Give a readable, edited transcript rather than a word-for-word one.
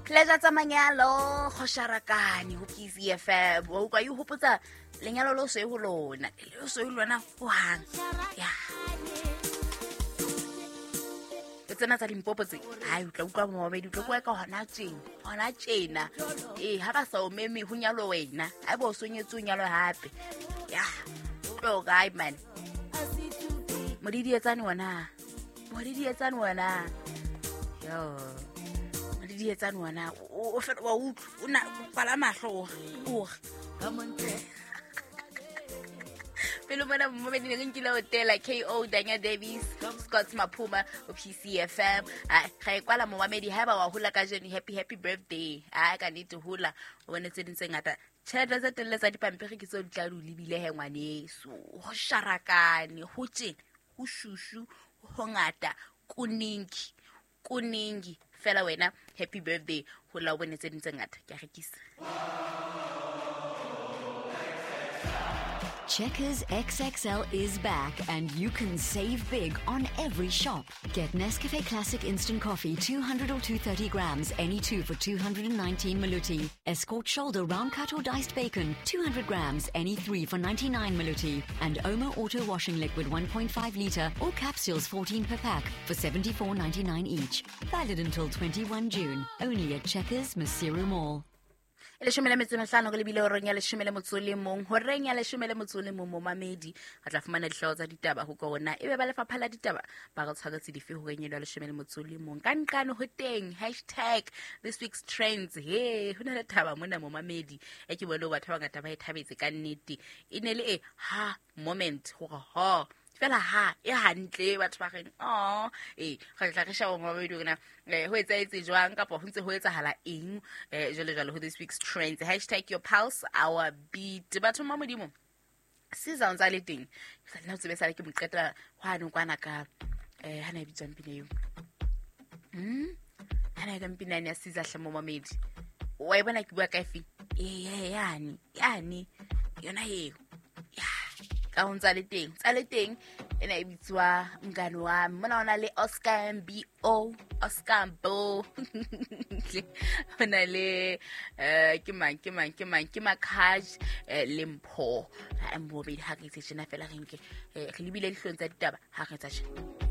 Pleasure tsa manyalo go sharakane go PCFM. Wa utlwa e hopotsa lenyalo le o soe ho lona, le o soe ho lona hohang. Ya. Le tsena tsa Limpopo tse, hai o tla utlwa momamedi, o tla kwa ka hona tjena, hona tjena. Ee, ha ba sa o meme ho nyalo wena, ha eba o so nyetse o nyalwe hape. Ya, tlo kae man. Modidietsane wena. Modidietsane wena. Yo. Modidietsane wena. O fela wa utlwa, o na kwala mahlo o re. Pele mona momamedi ne re nkile hotela KO Danya Davies, Scott Maphuma o PCFM. Ga e kwala momamedi ha eba wa hola kajeno, happy happy birthday. A ka nnete hola, o bone tse ding tse ngata. Tjhelete tse telele tsa dipampiri ke tseo di tla di o lebile he ngwaneso. Ho sharakane, ho tjena, ho shushu, ho ngata, kuningi, kuningi. Fela wena, happy birthday, hola o bone tse ding tse ngata. Ke a rekisa. Checkers XXL is back and you can save big on every shop. Get Nescafe Classic Instant Coffee 200 or 230 grams, any two for 219 Maluti. Escort Shoulder Round Cut or Diced Bacon, 200 grams, any three for 99 Maluti. And Omo Auto Washing Liquid 1.5 litre or capsules 14 per pack for 74.99 each. Valid until 21 June, only at Checkers Maseru Mall. E leshome le metso e mehlano re lebile horeng ya leshome le motso le mong, horeng ya leshome le motso le mong momamedi re tla fumana dihlooho tsa ditaba ho kona ebe ba lefapha la ditaba ba re tshwaretse dife horeng eno ya leshome le motso le mong. Ka nqane ho teng hashtag this week's trends. He ho na le thaba mona momamedi e ke bone batho ba bangata ba e thabetse ka nnete. E ne le e ha moment hore ho fela ha e hantle batho ba reng oh ee re tla re sheba momamedi hore na ho etsahetse jwang kapa ho ntse ho etsahala eng jwale jwale ho this week's trends. Hashtag your pulse our beat. Batho ba Modimo Caesar o ntse a le teng. Ke sa nna o tsebe sale ke mo qeta hwane kwana ka ha na e bitswang pina eo. Ha na e ka mpina ya Caesar hle momamedi. Wa e bona ke bua ka efe? Ee, yane, yane. Yona eo. Ya, ka ho ntse a le teng. Ntse a le teng ena e bitswa Mngani Wami. Mona ona le Oscar MBO, Oscar Mbo. Ho na le ke mang, ke mang, ke mang, ke Makhaj le Mpho. Ha Mbo bedi ha re itse tjena fela re nke re lebile dihlong tsa ditaba ha re etsa tjena.